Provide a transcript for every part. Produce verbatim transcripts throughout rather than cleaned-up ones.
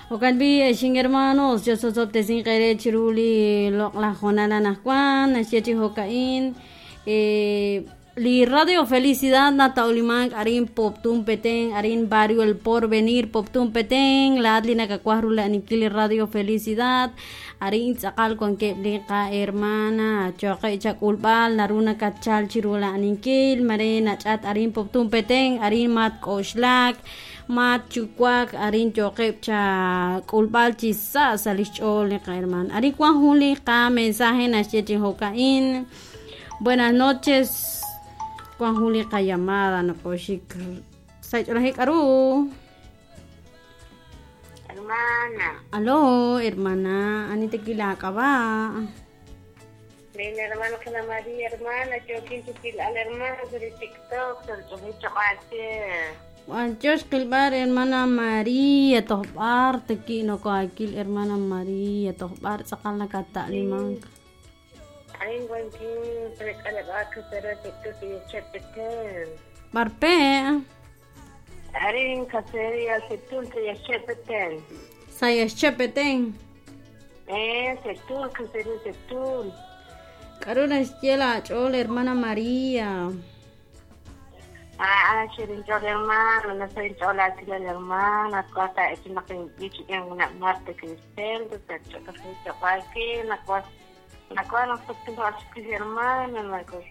Jo'kan b'i' xin hermanos chososob'tesin qeere chiru li loq'laj hoonal anaqwan naxye chi jo'ka'in li Radio Felicidad nata'ulimank arin Poptún Petén arin barrio El Porvenir Poptún Petén laat li nakawaj rula'aninkil li Radio Felicidad arin tz'aqal wankeb' li qahermana choqe' chak'ulb'al naru nakatchal chi rula'aninkil mare nach'at arin Poptún Petén arin matk'oxlak matchuwak arin yoqeb' cha k'ulb'al chi sa' sa' lix ch'ool li qahermana arin wan jun li qamensaje naxye chi jo'ka'in. Buenas noches wan jun li qallamada nokoxik saych'olajik k'aru. Hermana. Aló, hermana, ani tekilak'ab'a. Mi hermana Ana María, hermana, yo quince al hermano de TikTok, el Anchox qilb'ar hermana María tojb'ar teki nokoakil hermana María tojb'ar tz'aqal nakata'limank. Arin wankin prek'alab'ak pero TikTok y chepeten. Barpe. Arin casería setul y chepeten. Sayas chepeten. Eh, setul, casería setul. K'aru naxye la ch'ool hermana María. Ah, shirin ch'ool hermana, no soy ch'ool así la hermana, cuata es una que dicho en una Marta Cristel, pero na cual na cual no soy ch'ool hermana, na cual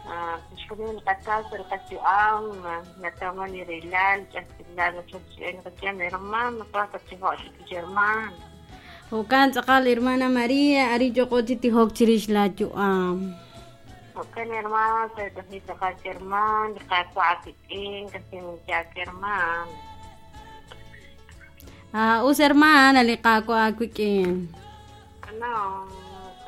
ah, shirin qatal pero casi am, na tama ni rilal, ya la ch'ool hermana, cuata ch'ool hermana. Jo'kan tz'aqal hermana María, ari yoq'o chi tijok chirix la yu'am. Jo'kan hermana, pero casi hermana, qakwa'aki'in, casi jak hermana. Ah, us hermana li qakwa'aki'in. No.